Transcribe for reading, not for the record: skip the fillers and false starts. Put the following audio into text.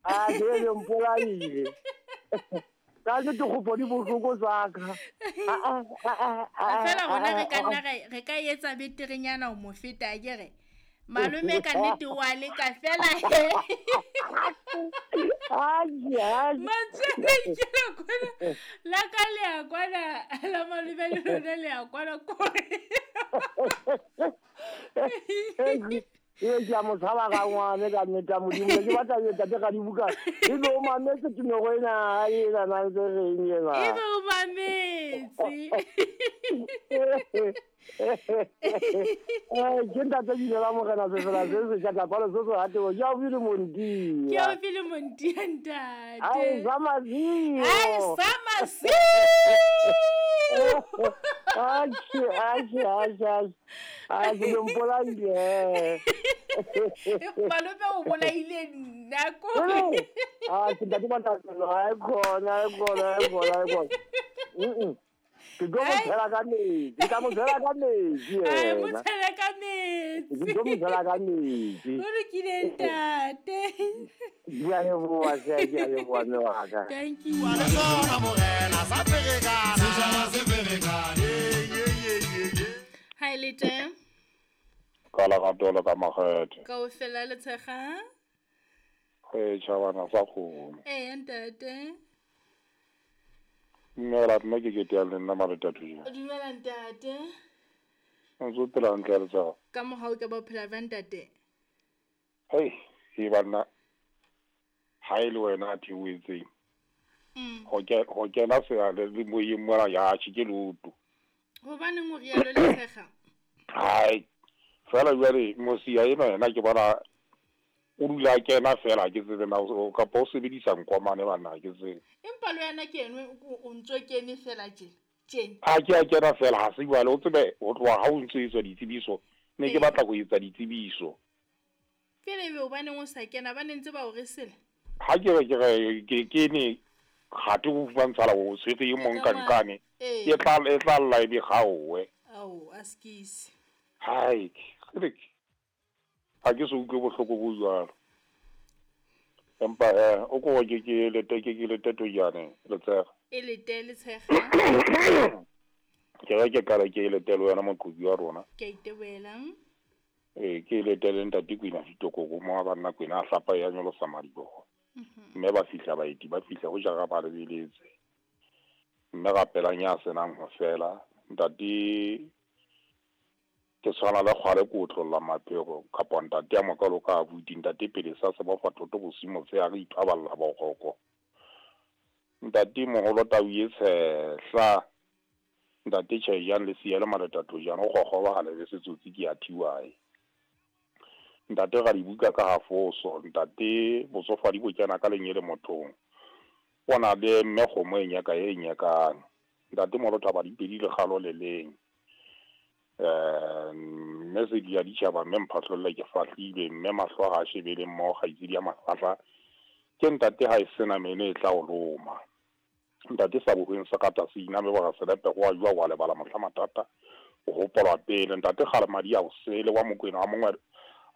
A ke le mpolaile. Ka ke dikgopo di bohloko tsaka. Fela rona re ka nna re ka etsa beterenyana ho mo feta akere. Malome ka nnete o a leka fela he. Mantswe a ikela kwana la ka le a kwana la malome le lona le a kwana kore. Ee, ke a mo tshaba ka ngwane ka nnete ya Modimo. Ne ke batla e tate ga dibuka. E be o mametse tumego ena e na na ntse reng ena. E be o mametse. Eh, ke ntate bile la morena sefela se se tla kwalo se se hatebo. Ke a bile montia. Ke a bile montia ntate. Ai sa mazio. Ai sa mazio. Ache ache ache ache. A ke le mpolaile. Malome o bolaile nna ko. A ke ntate ba tla ai khona ai khona ai khona ai khona. Ke tlo mo tshela ka metsi, ke tla mo tshela ka metsi. Ai mo tshela ka metsi. Ke tlo mo tshela ka metsi. O lokile ntate. Ke a leboha hle, ke a leboha mme wa ka. Thank you. Wa le sona morena sa ferekana. Setjhaba se ferekane. Ye ye ye ye. Ha e le teng. Ka lerato le ka makgethe. Kaofela le tshega. Ee, tjhabana sa kgomo. Ee, ntate. Dumela, nna ke kete ya le nna Maretathu. Dumela ntate. O ntse o phela hantle Letshego? Ka mohau ke ba phela jwang ntate? Hei, e banna. Ha e le wena a theohetseng. Ho kena seale le moyeng mona ya tjhe ke loto. Hobaneng o rialo Letshega? Hai. Fela jwale mosia ena yena ke bona o dula kena fela ke tsebe na kapa o sebedisa nkomane bana ke tsebe. Empa le wena ke enwe o ntso kene fela tje. Tjena. Ha ke a kena fela ha se jwale o tsebe ho tloha ha o ntso etswa ditsebiso ne ke batla ho etsa ditsebiso. Pele ebe hobaneng o sa kena ba ne ntse ba o resela. Ha ke re ke re ke kene gate go fumantshala o tshwere e mong ka nkane e tla lla e be gaowe. Ao a skisi. Hai, ke ha ke se utlwe bohloko bo jwalo. Empa o ko ke ke lete ke ke lete tojane Letshega. E lete Letshega. Ke re ke qala ke lete le wena moqobi wa rona. Ke iteboela. Ee, ke lete le ntate Kwena Ditokoko mo ba nna Kwena a hlapa ya nyolosa madiboho. Mme ba fihla baeti ba fihla ho jara ba lebeletse. Mme rapelang ya senang ho fela ntate ke tshwana le kgwale ko otlolla maphego kapa ntate ya mokalo ka abuti ntate pele sa se bofa thoto bosimo tse a re ithwaballa boroko. Ntate moholo tau e tshehla ntate Tjhejang le siya le Maretathu jang o gogoba ga le setsotsi ke a thiwae. Ntate ga dibuka ka hafoso ntate botsofadi bo kena ka lenyele mothong. O na le mme kgomo e nyaka e nyakang. Ntate moholo thaba dipedi le kgalo le leng. Mme se di ya ditjhaba mme mphatlholle ke fahlile mme mahlo ha shebele mmoho kgaitsedi ya mafahla ke ntate ha e sena meno e tla o loma. Ntate sa bohweng se kata se iname ba selepe go a jwa wa lebala mohla matata o hopolwa pele ntate kgale madi a o sele wa Mokwena wa mongwe